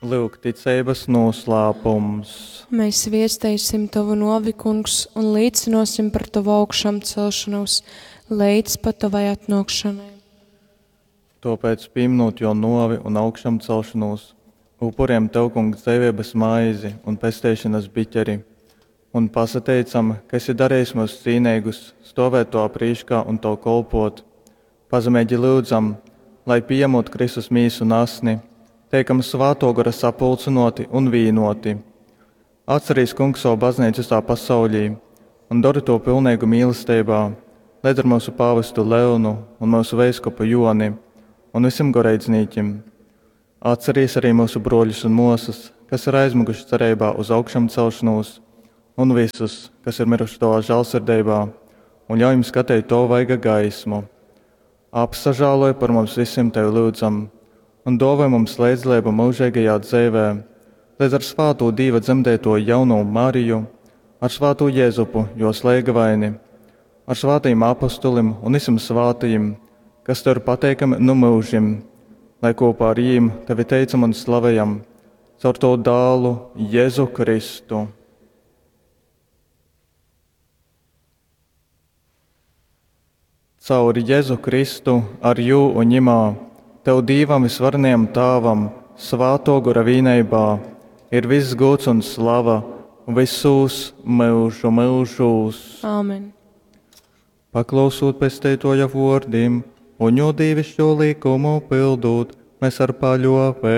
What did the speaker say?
Lyuk ticeibas noslēpums. Mēs viesteisim Tavu novi, Kungs, un līcinosim par Tavu augšāmcelšanos līdz pat Tavai atnākšanai. Tāpēc, pieminot jo novi un augšāmcelšanos, upuriem Tev, Kungs, dzīvības maizi un pestīšanas biķeri, un pasateicam, ka esi darījis mūs cīnīgus, stovēt to prīškā un Tev kolpot. Pazemīgi lūdzam, lai pieņemot Kristus mīsu un asni, teikam svāto gara sapulcinoti un vīnoti. Atcerīs, Kungs, savu baznīcu visā pasaulī un dori to pilnīgu mīlestībā, līdz ar mūsu pāvestu Leonu un mūsu veiskupu Joni un visiem goreidznīķim. Atcerīs arī mūsu broļus un māsas, kas ir aizmuguši cerībā uz augšām celšanos, un visus, kas ir miruši tavā žēlsirdībā, un ļauj jums skatīt to vaiga gaismu. Apsažāloj par mums visiem tevi lūdzam, un dāvā mums līdzdalību mūžīgajā dzīvē, līdz ar svāto Dieva dzemdēto jauno Mariju, ar svāto Jēzupu, jo slēgavaini, ar svātajiem apustulim un visiem svātajiem, kas tev ir pateikami nu mūžim, lai kopā ar jīm tevi teicam un slavējam, caur to dālu Jēzu Kristu. Caur Jēzu Kristu, ar jū un ņimā, tev Dīvam visvarenajam Tāvam, svāto gora vīneibā, ir viss gods un slava visūs mūžu mūžūs. Āmen. Paklausot pesteitoja vōrdim un jo dīvišķo likumu pildūt, mēs ar paļōveibu.